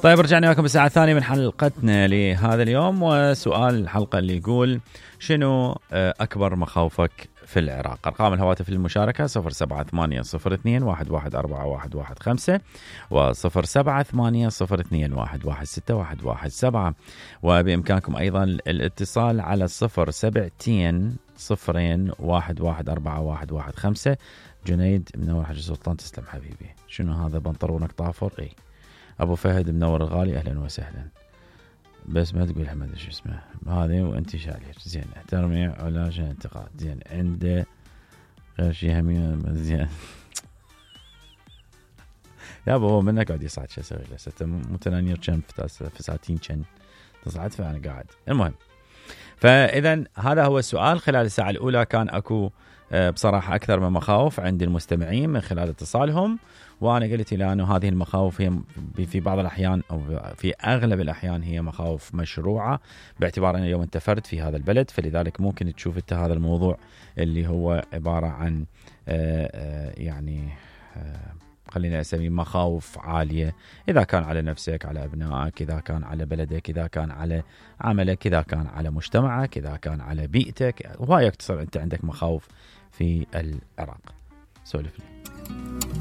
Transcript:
طيب رجعنا لكم بالساعة الثانية من حلقتنا لهذا اليوم، وسؤال الحلقة اللي يقول شنو أكبر مخاوفك في العراق؟ أرقام الهواتف للمشاركة 078021141115 و078021161117، وبإمكانكم أيضا الاتصال على 072-001141115. جنيد منور حاج سلطان، تسلم حبيبي. شنو هذا بنطرونك طافر؟ اي ابو فهد منور الغالي، اهلا وسهلا. بس ما تقول حمد شو اسمه هذه وانت شالير. زين احترمي علاج انتقاد. زين عنده غير شيء همين. زين يا ابو هو منك قاعد يصعد، شو اسوي له؟ ستة متنانير كم فساتين كم تصعد، فانا قاعد. المهم، فاذا هذا هو السؤال. خلال الساعه الاولى كان اكو بصراحة أكثر من مخاوف عند المستمعين من خلال اتصالهم، وأنا قلت إلى أنه هذه المخاوف هي في بعض الأحيان أو في أغلب الأحيان هي مخاوف مشروعة، باعتبار أن اليوم أنت فرد في هذا البلد، فلذلك ممكن تشوف أنت هذا الموضوع اللي هو عبارة عن يعني خلينا أسميه مخاوف عالية، إذا كان على نفسك، على أبنائك، إذا كان على بلدك، إذا كان على عملك، إذا كان على مجتمعك، إذا كان على بيئتك، وهاي يكتصر أنت عندك مخاوف في العراق. سولف لي.